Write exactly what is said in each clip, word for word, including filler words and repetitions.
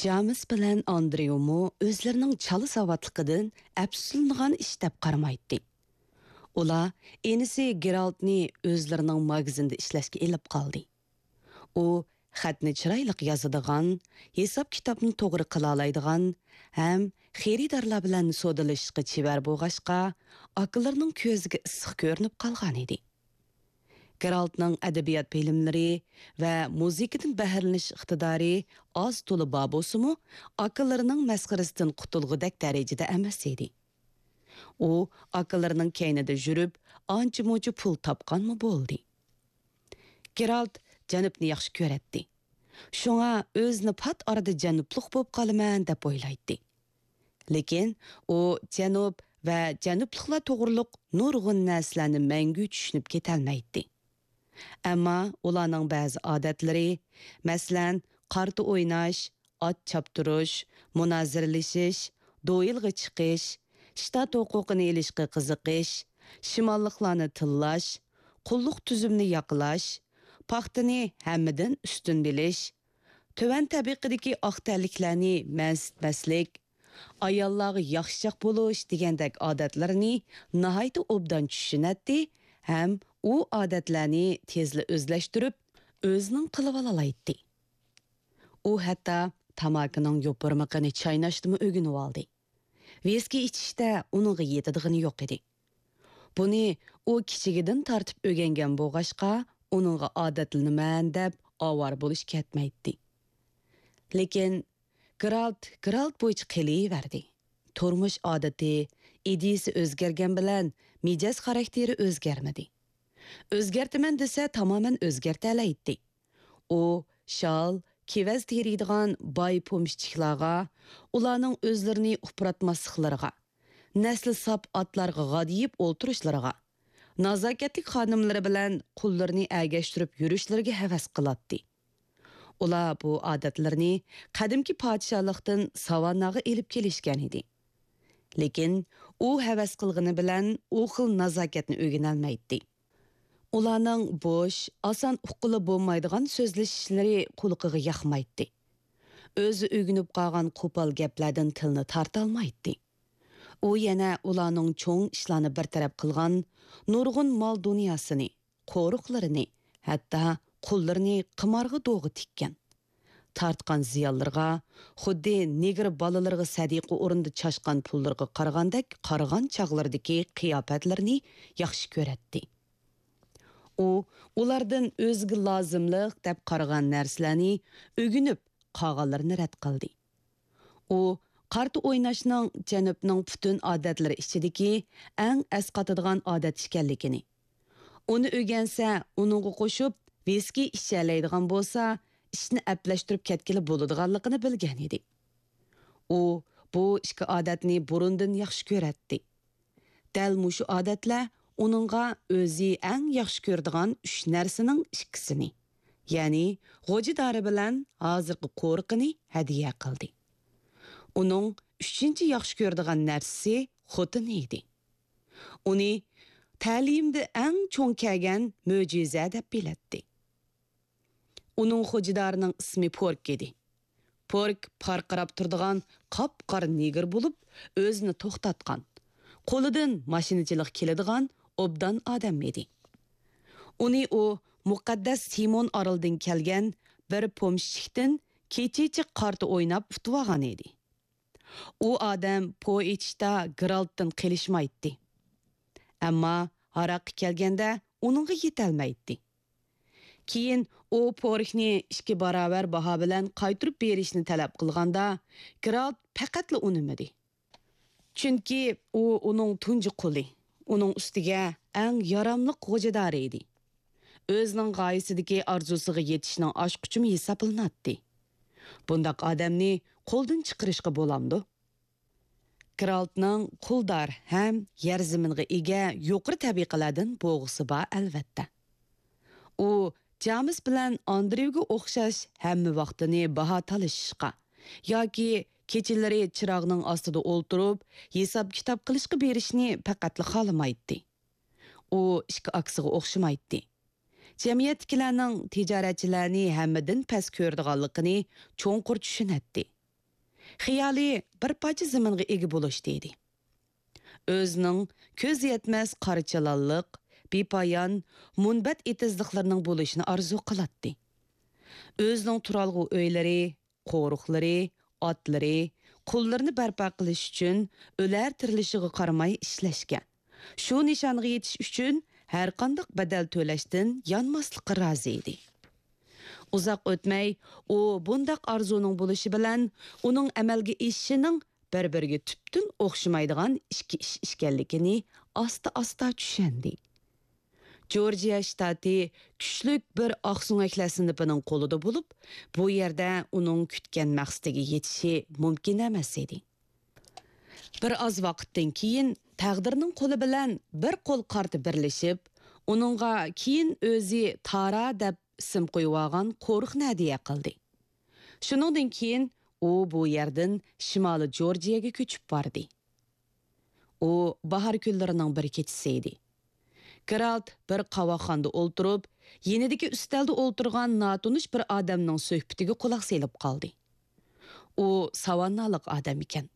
جامېس بىلەن ئاندرېيۇمۇ ئۆزلىرىنىڭ چالا ساۋاتلىقىدىن ئەپسۇسلىنىدىغان ئىش دەپ قارىمايتتى. ئۇلار ئىنىسى گېرالتنى ئۆزلىرىنىڭ ماگىزىندا ئىشلەشكە ئېلىپ قالدى. ئۇ خەتنى چىرايلىق يازىدىغان، ھېساب-كىتابنى توغرا قىلالايدىغان ھەم خېرىدارلار بىلەن سودىلىشىشقا چېۋەر بولغاچقا، ئاكىلىرىنىڭ كۆزىگە ئىسسىق كۆرۈنۈپ قالغانىدى. گېرالتنىڭ ئەدەبىيات بىلىملىرى ۋە مۇزىكىدىن بەھرىلىنىش ئىقتىدارى ئاز-تولا بار بولسىمۇ، ئاكىلىرىنىڭ مەسخىرىسىدىن قۇتۇلغۇدەك دەرىجىدە ئەمەس ئىدى. ئۇ ئاكىلىرىنىڭ كەينىدە يۈرۈپ، ئانچە-مۇنچە پۇل تاپقانمۇ بولدى. گېرالت جەنۇبنى ياخشى كۆرەتتى. شۇڭا ئۆزىنى پات ئارىدا جەنۇبلۇق بولۇپ قالىمەن دەپ ئويلايتتى. لېكىن ئۇ جەنۇب ۋە جەنۇبلۇقلار توغرۇلۇق نۇرغۇن نەرسىلەرنى مەڭگۈ چۈشىنىپ كېتەلمەيتتى. ئەمما ئۇلارنىڭ بەزى ئادەتلىرى، مەسىلەن، قارتا ئويناش، ئات چاپتۇرۇش، مۇنازىرىلىشىش، دوئېلغا چىقىش، شتات ھوقۇقىنى ئېلىشقا قىزىقىش، شىماللىقلارنى تىللاش، قۇللۇق تۈزۈمنى ياقلاش، پاختىنى ھەممىدىن ئۈستۈن بىلىش، تۆۋەن تەبىقىدىكى ئاق تەنلىكلەرنى مەنسىتمەسلىك، ئاياللارغا ياخشىچاق بولۇش دېگەندەك ئادەتلىرىنى ناھايىتى ئوبدان چۈشىنەتتى ھەم ئۇ ئادەتلەرنى تېزلا ئۆزلەشتۈرۈپ، ئۆزىنىڭ قىلىۋالالايتتى. ئۇ ھەتتا تاماكىنىڭ يوپۇرمىقىنى چايناشنىمۇ ئۆگىنىۋالدى. ۋىسكى ئىچىشتە ئۇنىڭغا يېتىدىغىنى يوق ئىدى. بۇنى ئۇ كىچىكىدىن تارتىپ ئۆگەنگەن بولغاچقا، ئۇنىڭغا ئادەتلىنىمەن دەپ ئاۋارە بولۇش كەتمەيتتى. لېكىن گېرالت گېرالت بويىچە قېلىۋەردى. تۇرمۇش ئادىتى، ئىدىيىسى ئۆزگەرگەن بىلەن مىجەز خاراكتېرى ئۆزگەرمىدى. ئۆزگەرتىمەن دېسە تامامەن ئۆزگەرتەلەيتتى. ئۇ شال، كېۋەز تېرىيدىغان باي پومېشچىكلارغا، ئۇلارنىڭ ئۆزلىرىنى ئۇپراتماسلىقلىرىغا، نەسلى ساپ ئاتلارغا غادىيىپ ئولتۇرۇشلىرىغا، نازاكەتلىك خانىملىرى بىلەن قۇللىرىنى ئەگەشتۈرۈپ يۈرۈشلىرىگە ھەۋەس قىلاتتى. ئۇلار بۇ ئادەتلىرىنى قەدىمكى پادىشاھلىقتىن ساۋانناغا ئېلىپ كېلىشكەن ئىدى. لېكىن ئۇ ھەۋەس قىلغىنى بىلەن ئۇ خىل نازاكەتنى ئۆگىنەلمەيتتى. ئۇلارنىڭ بوش، ئاسان ئۇققىلى بولمايدىغان سۆزلىشىشلىرى قۇلىقىغا ياقمايتتى. ئۆزى ئۆگىنىپ قالغان قوپال گەپلەردىن تىلىنى تارتالمايتتى. ئۇ يەنە ئۇلارنىڭ چوڭ ئىشلارنى بىر تەرەپ قىلغان نۇرغۇن مال-دۇنياسىنى، قورۇقلىرىنى، ھەتتا قۇللىرىنى قىمارغا دوغا تىككەن. تارتقان زىيانلىرىغا، خۇددى نېگىر بالىلىرىغا سەدىقە ئورنىدا چاچقان پۇللىرىغا قارىغاندەك قارىغان چاغلىرىدىكى قىياپەتلىرىنى ياخشى كۆرەتتى. ئۇ ئۇلاردىن ئۆزىگە لازىملىق دەپ قارىغان نەرسىلەرنى ئۆگىنىپ، قالغانلىرىنى رەت قىلدى. ئۇ قارتا ئويناشنىڭ جەنۇبنىڭ پۈتۈن ئادەتلىرى ئىچىدىكى ئەڭ ئەسقاتىدىغان ئادەت ئىكەنلىكىنى، ئۇنى ئۆگەنسە، ئۇنىڭغا قوشۇپ ۋىسكى ئىچەلەيدىغان بولسا، ئىشنى ئەپلەشتۈرۈپ كەتكىلى بولىدىغانلىقىنى بىلگەن ئىدى. ئۇ بۇ ئىككى ئادەتنى بۇرۇندىن ياخشى كۆرەتتى. دەل مۇشۇ ئادەتلەر ئۇنىڭغا ئۆزى ئەڭ ياخشى كۆرىدىغان ئۈچ نەرسىنىڭ ئىككىسىنى، يەنى غوجىدارى بىلەن ھازىرقى قورۇقىنى ھەدىيە قىلدى. ئۇنىڭ ئۈچىنچى ياخشى كۆرىدىغان نەرسىسى خوتۇنى ئىدى. ئۇنى تەلىيىمدە ئەڭ چوڭ كەلگەن مۆجىزە دەپ بىلەتتى. ئۇنىڭ خوجىدارىنىڭ ئىسمى پورك ئىدى. پورك پارقىراپ تۇرىدىغان قاپقارا نېگىر بولۇپ، ئۆزىنى توختاتقان، قولىدىن ماشىنىچىلىق كېلىدىغان ئوبدان ئادەم ئىدى. ئۇنى ئۇ مۇقەددەس سىمون ئارىلىدىن كەلگەن بىر پومېشچىكتىن كېچىچە قارتا ئويناپ ئۇتۇۋالغان ئىدى. ئۇ ئادەم پو ئېچىشتا گېرالتتىن قېلىشمايتتى. ئەمما ھاراققا كەلگەندە ئۇنىڭغا يېتەلمەيتتى. كېيىن ئۇ پوركنى ئىككى باراۋەر باھا بىلەن قايتۇرۇپ بېرىشنى تەلەپ قىلغاندا، گېرالت پەقەتلا ئۇنىمىدى. چۈنكى ئۇ ئۇنىڭ تۇنجى قۇلى، ئۇنىڭ ئۈستىگە ئەڭ ياراملىق غوجىدارى ئىدى. ئۆزىنىڭ غايىسىدىكى ئارزۇسىغا يېتىشنىڭ ئاچقۇچىمۇ ھېسابلىناتتى. بۇنداق ئادەمنى قولدىن چىقىرىشقا بولامدۇ؟ گېرالتنىڭ قۇلدار ھەم يەر زېمىنغا ئىگە يۇقىرى تەبىقىلەردىن بوغىسى بار، ئەلۋەتتە. ئۇ جامېس بىلەن ئاندرېۋگە ئوخشاش ھەممە ۋاقتىنى باھا تالىشىشقا ياكى كېچىلىرى چىراغنىڭ ئاستىدا ئولتۇرۇپ ھېساب-كىتاب قىلىشقا بېرىشنى پەقەتلا خالىمايتتى. ئۇ ئىككى ئاكىسىغا ئوخشىمايتتى. جەمئىيەتتىكىلەرنىڭ تىجارەتچىلەرنى ھەممىدىن پەس كۆرىدىغانلىقىنى چوڭقۇر چۈشىنەتتى. خىيالى بىر پارچە زېمىنغا ئىگە بولۇشتا ئىدى. ئۆزىنىڭ كۆز يەتمەس قارا چىلانلىق، بىپايان، مۇنبەت ئېتىزلىقلىرىنىڭ بولۇشىنى ئارزۇ قىلاتتى. ئۆزىنىڭ تۇرالغۇ ئۆيلىرى، قورۇقلىرى، ئاتلىرى، قۇللىرىنى بەرپا قىلىش ئۈچۈن ئۆلەر تىرىلىشىغا قارىماي ئىشلەشكە، شۇ نىشانغا يېتىش ئۈچۈن ھەرقانداق بەدەل تۆلەشتىن يانماسلىققا رازى ئىدى. ئۇزاق ئۆتمەي، ئۇ بۇنداق ئارزۇنىڭ بولۇشى بىلەن ئۇنىڭ ئەمەلگە ئېشىشىنىڭ بىر-بىرىگە تۈپتىن ئوخشىمايدىغان ئىككى ئىش ئىكەنلىكىنى ئاستا-ئاستا چۈشەندى. جورجىيا شتاتى كۈچلۈك بىر ئاقسۆڭەكلەر سىنىپىنىڭ قولىدا بولۇپ، بۇ يەردە ئۇنىڭ كۈتكەن مەقسىتىگە يېتىشى مۇمكىن ئەمەس ئىدى. بىر ئاز ۋاقىتتىن كېيىن تەقدىرنىڭ قولى بىلەن بىر قول قارتى بىرلىشىپ، ئۇنىڭغا كېيىن ئۆزى تارا دەپ ئىسىم قويۇۋالغان قورۇقنى ھەدىيە قىلدى. شۇنىڭدىن كېيىن ئۇ بۇ يەردىن شىمالىي جورجىيەگە كۆچۈپ باردى. ئۇ باھار كۈنلىرىنىڭ بىر كېچىسى ئىدى. گېرالت بىر قاۋاقخانىدا ئولتۇرۇپ، يېنىدىكى ئۈستەلدە ئولتۇرغان ناتونۇش بىر ئادەمنىڭ سۆھبىتىگە قۇلاق سېلىپ قالدى. ئۇ ساۋاننالىق ئادەم ئىكەن.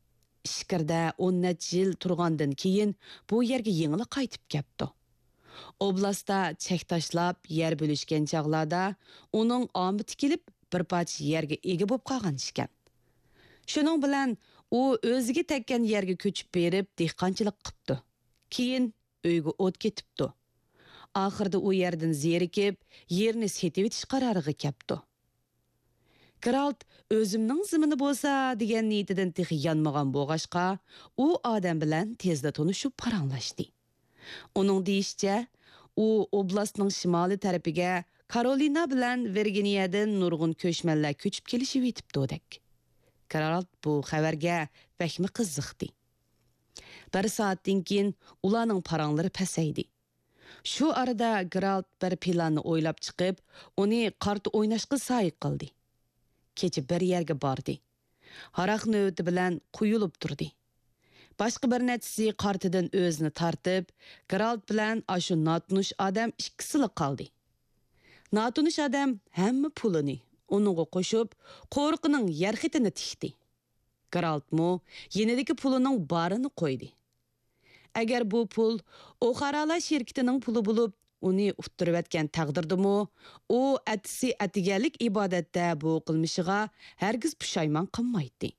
ئىچكىرىدە ئون نەچچە يىل تۇرغاندىن كېيىن بۇ يەرگە يېڭىلا قايتىپ كەپتۇ. ئوبلاستتا چەك تاشلاپ يەر بۆلۈشكەن چاغلاردا ئۇنىڭ ئامىتى كېلىپ بىر پارچە يەرگە ئىگە بولۇپ قالغان ئىكەن. شۇنىڭ بىلەن ئۇ ئۆزىگە تەگكەن يەرگە كۆچۈپ بېرىپ دېھقانچىلىق قىپتۇ. كېيىن ئۆيىگە ئوت كېتىپتۇ. ئاخىرىدا ئۇ يەردىن زېرىكىپ، يېرىنى سېتىۋېتىش قارارىغا كەپتۇ. گېرالت ئۆزۈمنىڭ زېمىنى بولسا دېگەن نىيىتىدىن تېخى يانمىغان بولغاچقا، ئۇ ئادەم بىلەن تېزلا تونۇشۇپ پاراڭلاشتى. ئۇنىڭ دېيىشىچە، ئۇ ئوبلاستنىڭ شىمالىي تەرىپىگە كارولىنا بىلەن ۋىرگىنىيەدىن نۇرغۇن كۆچمەنلەر كۆچۈپ كېلىشىۋېتىپتۇدەك. گېرالت بۇ خەۋەرگە بەكمۇ قىزىقتى. بىر سائەتتىن كېيىن ئۇلارنىڭ پاراڭلىرى پەسەيدى. شۇ ئارىدا گېرالت بىر پىلاننى ئويلاپ چىقىپ، ئۇنى قارتا ئويناشقا سايە قىلدى. كېچە بىر يەرگە باردى. ھاراق نۆۋىتى بىلەن قۇيۇلۇپ تۇردى. باشقا بىر نەچچىسى قارتىدىن ئۆزىنى تارتىپ، گېرالت بىلەن ئاشۇ ناتونۇش ئادەم ئىككىسىلا قالدى. ناتونۇش ئادەم ھەممە پۇلىنى ئۇنىڭغا قوشۇپ، قورۇقىنىڭ يەر خېتىنى تىكتى. گېرالتمۇ يېنىدىكى پۇلىنىڭ بارىنى قويدى. ئەگەر بۇ پۇل ئوخارالار شىركىتىنىڭ پۇلى بولۇپ، ئۇنى ئۇتتۇرۇۋەتكەن تەقدىردىمۇ، ئۇ ئەتىسى ئەتىگەنلىك ئىبادەتتە بۇ قىلمىشىغا ھەرگىز پۇشايمان قىلمايتتى.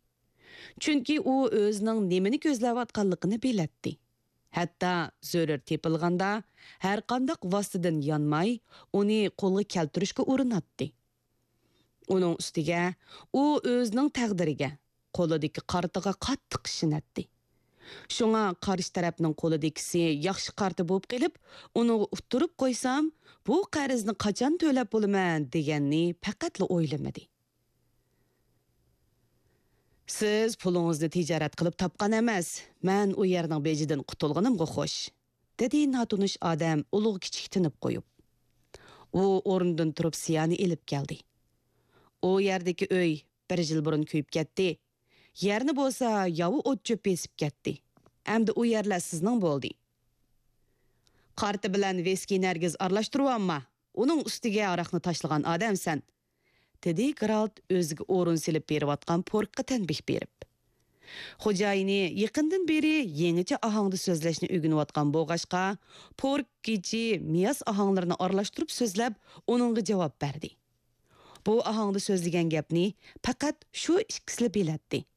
چۈنكى ئۇ ئۆزىنىڭ نېمىنى كۆزلەۋاتقانلىقىنى بىلەتتى. ھەتتا زۆرۈر تېپىلغاندا، ھەرقانداق ۋاسىتىدىن يانماي، ئۇنى قولغا كەلتۈرۈشكە ئۇرۇناتتى. ئۇنىڭ ئۈستىگە ئۇ ئۆزىنىڭ تەقدىرىگە، قولىدىكى قارتىغا قاتتىق ئىشىنەتتى. شۇڭا قارشى تەرەپنىڭ قولىدىكىسى ياخشى قارتا بولۇپ قېلىپ، ئۇنىڭغا ئۇتتۇرۇپ قويسام، بۇ قەرزنى قاچان تۆلەپ بولىمەن دېگەننى پەقەتلا ئويلىمىدى. سىز پۇلىڭىزنى تىجارەت قىلىپ تاپقان ئەمەس، مەن ئۇ يەرنىڭ بېجىدىن قۇتۇلغىنىمغا خوش، دېدى ناتونۇش ئادەم ئۇلۇغ كىچىك تىنىپ قويۇپ. ئۇ ئورنىدىن تۇرۇپ سىيانى ئېلىپ كەلدى. ئۇ يەردىكى ئۆي بىر يىل بۇرۇن كۆيۈپ كەتتى. يەرنى بولسا ياۋا ئوت چۆپ بېسىپ كەتتى. ئەمدى ئۇ يەرلەر سىزنىڭ بولدى. قارتا بىلەن ۋىسكىنى ھەرگىز ئارىلاشتۇرۇۋالما، ئۇنىڭ ئۈستىگە ھاراقنى تاشلىغان ئادەمسەن، دېدى گېرالت ئۆزىگە ئورۇن سېلىپ بېرىۋاتقان پوركقا تەنبىھ بېرىپ. خوجايىنى يېقىندىن بېرى يېڭىچە ئاھاڭدا سۆزلەشنى ئۆگىنىۋاتقان بولغاچقا، پورك گىچى مىياس ئاھاڭلىرىنى ئارىلاشتۇرۇپ سۆزلەپ، ئۇنىڭغا جاۋاب بەردى. بۇ ئاھاڭدا سۆزلىگەن گەپنى پەقەت شۇ ئىككىسىلا بىلەتتى.